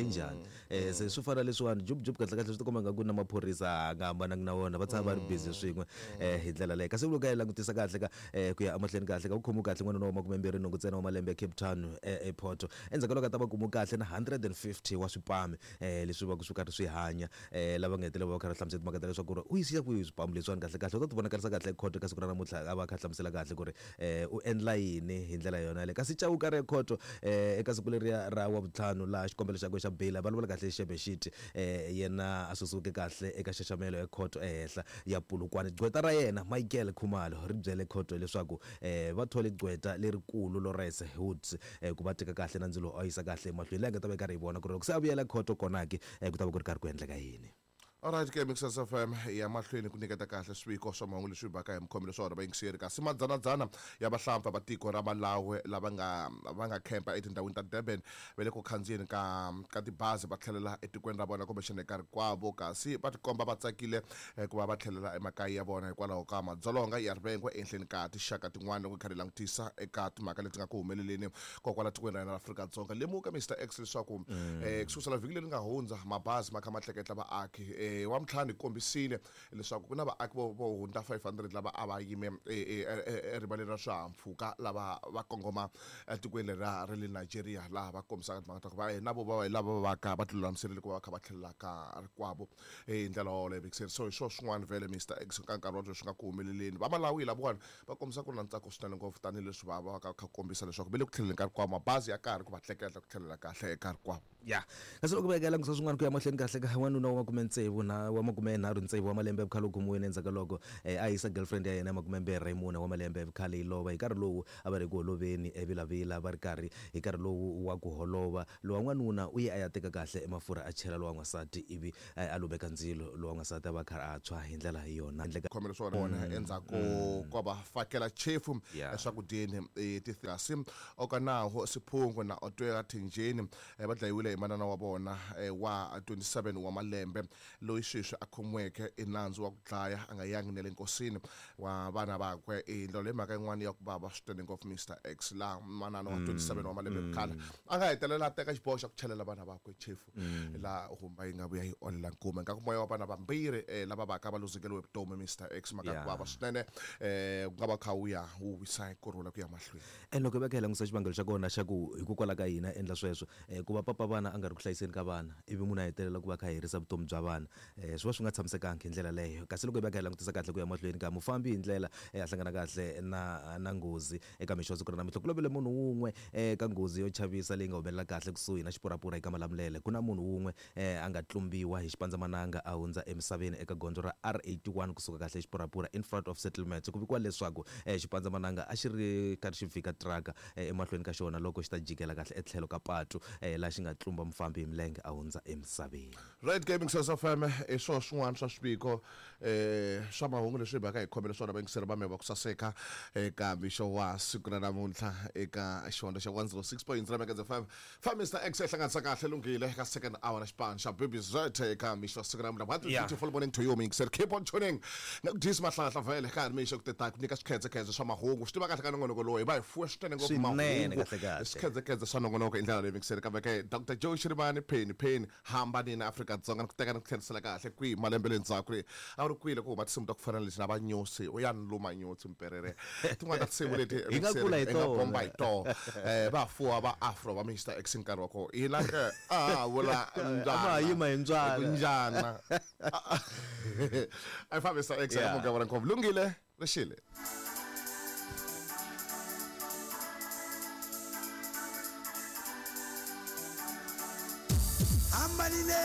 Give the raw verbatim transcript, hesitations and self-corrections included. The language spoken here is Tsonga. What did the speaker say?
dlayi njhani um se swi fana leswiwani jubujub kahle kahle swi tikomba nga ku na maphorisa a nga hambanangi na wona va tshama va ri busy swin'we um hi ndlela leyo kasi loko hi langutisa kahle ka um ku ya emahlweni kahle ka ku khomiwe kahle n'wanuna wa makumembirhi nhungu ntsena wa malembe ya Cape Town airport endzhaku ka loko a ta va kumiwe kahle na hundred and fifty wa swipami um leswi va ku swi karhi swi hanya um lava nga hetelela va kha va hlamusela timhaka ta leswaku ri u yisiya kwihi swipamu leswiwani kahle kahle u ta ti vonakarisa kahle ekhoto ka siku ra namuntlha a va a kha a hlamusela kahle ku ri um u endla yini hi ndlela yona yaleyo kasi Chauke ri ekhoto um eka siku leriya ra wavutlhanu laha xikombelo xakwe xa bail va vulavula kahle xebexiti um yena a susiweke kahle eka xaxamelo ekhoto ehenhla ya Polokwane gqweta ra yena Michael Khumalo ri byele khoto leswaku um va thole gqweta lerikulu Lawrence Woods um ku va teka kahle na ndzilo a yisa kahle emahlweni leyi nga ta va yi karhi yi vona ku ri loko se a vuyela khoto kona ke ku ta va ku ri karhi ku endleka yini. Alright ke Mixers F M ya mahlweni ku nyiketa kahle swiviko swa mahungu leswi baka hi mukhomelo swa wona vayingiseri kasi madzanadzana ya vahlampfa va tiko ra Malawi lava nga va nga khempa etindhawini ta Durban va le ku khandziyeni ka ka tibazi va tlhelela etikweni ra vona kumbexana eka rikwavo kasi va tikomba va tsakile ku va va tlhelela emakaya ya vona hikwalaho ka madzolonga ya rivengo ehenhleni ka tinxaka tin'wana loko hi karhi hi langutisa eka timhaka leti nga ku humeleleni kokwala tikweni ra hina ra Afrika-Dzonga. Lemuka Mister X leswaku mm. eh, kusukusela vhiki leri nga hundza mabazi ma kha ma tleketla vaaki eh wa mtlhanu hi kombisile leswaku ku na vaaki vo vo hundza five hundred lava a va yime erivaleni ra swihahampfhuka lava va kongoma etikweni leri ra le Nigeria laha va kombisaka timhaka ta ku va na vo va lava va ka va tilulamiserile ku va va kha va tlhelela ka rikwavo hi ndlela yoleyo vekiseri. So hi swona swin'wana vhele Mister X ka nkarhi wa sweswi nga ku humeleleni. Va Malawi lavawani va kombisa ku ri na ntsako swinene ngopfu tanihileswi va va kha kombisa leswaku va le ku tlheleni ka rikwavo mabazi ya karhi ku va tleketla ku tlhelela kahle eka rikwavo. Ya kasi loko va ya langutisa swin'wana ku ya mahlweni kahle ka wanuna wa makume tsevu na wa makume nharhu tsevu wa malembe ya vukhale u khomiwile endzhaku ka loko a yisa girlfriend ya yena ya makume mbirhi mune wa malembe ya vukhale yi lova hi nkarhi lowu a va ri ku holoveni evilavila va ri karhi hi nkarhi lowu wa ku holova lowa n'wanuna u ye a ya teka kahle emafurha a chela lowa n'wansati ivi a lumeka ndzilo lowa n'wansati a va kha a tshwa hi ndlela yona endleka khomelo swa vona endzhaku ko va fakela chefu eswakudyeni kasi Okanaho Siphungo na Otwera Thenjeni va dlayiwile hi manana wa vona wa twenty-seven wa malembe loyi sweswi a khomiweke i nandzu wa ku dlaya a nga yangi na le nkosini wa vana vakwe. I ndlela leyi mhaka yin'wana ya ku vava swinene ngopfu Mister X laha manana wa twenty-seven wa malembe vukhale a nga hetelela a teka xiboho xa ku chelela vana vakwe chefu laha humba yi nga vuya yi olela nkume nga ku moya wa vana vambirhi lava vaka va luzekeriwe vutomi Mister X mhaka ku vava swinene ku nga va kha wu ya wu wisa hi kurhula ku ya mahlweni. And loko va kha hi langutisa xivangelo xa kona xa ku hikokwalaho ka yini a endla sweswo ku va papa vana a nga ri ku hlayiseni ka vana ivi munhu a hetelela ku va kha herisa vutomi bya vana swi va swi nga tshamisekanga hi ndlela leyo. Kasi loko hi va kha hi langutisa kahle ku ya mahlweni ka mufambi hi ndlela a hlangana kahle na na nghozi eka mixo siku ra namuntlha ku lovile munhu wun'we eka nghozi yo chavisa leyi nga humelela kahle kusuhi na Xipurapura eka Malamulele. Ku na munhu wun'we a nga tlumbiwa hi xipandzamananga a hundza emisaveni eka gondzo ra R eighty-one kusuka kahle Xipurapura in front of settlement. Ku vikiwa leswaku xipandzamananga a xi ri karhi xi vhika traka emahlweni ka xona loko xi ta jikela kahle etlhelo ka patu laha xi nga tlumba mufambi hi milenge a hundza emisaveni. Red Gaming Source F M i swona swin'wana swa swiviko eh swa mahungu leswi hi baka hi khomele swona vayingiseri va mehe va ku saseka eka mixo wa siku ra namuntlha eka xihondzo xa one oh six point three Megahertz F M. Fa Mister X hi hlanganisa kahle lunghile ka second hour na xipano xa Baby Z eka mixo wa siku ra namuntlha. What a beautiful morning to you muyingiseri. Keep on tuning. Na ku dyisa mahlahla vhele ka ha ri mixo ku teta ku nyika swikhedzekhedze swa mahungu. Swi tiva kahle ka nongonoko lowu hi va hi fuwe swinene ngopfu mahungu. Swikhedzekhedze swa nongonoko hi ndlela leyi muyingiseri kambe ke Doctor Joe Shirimani Penny Penny hambanini Afrika-Dzonga ni ku teka ni ku tlherisela kahle kwihi malembe le ndzhaku ri a ri kwile ku huma tinsimu ta ku fana na lexi na va nyosi u ya ni luma nyotsi mperere tin'wana ta tinsimu leti hi nga kula hi tona bomba hi tona eh va fuwa va afro va Mister X nkarhi wa kona hina ke a vula mbyana a yima hi ndzwana njana a fa Mister X a muka vona ngopfu lungile rixile. Ambalile.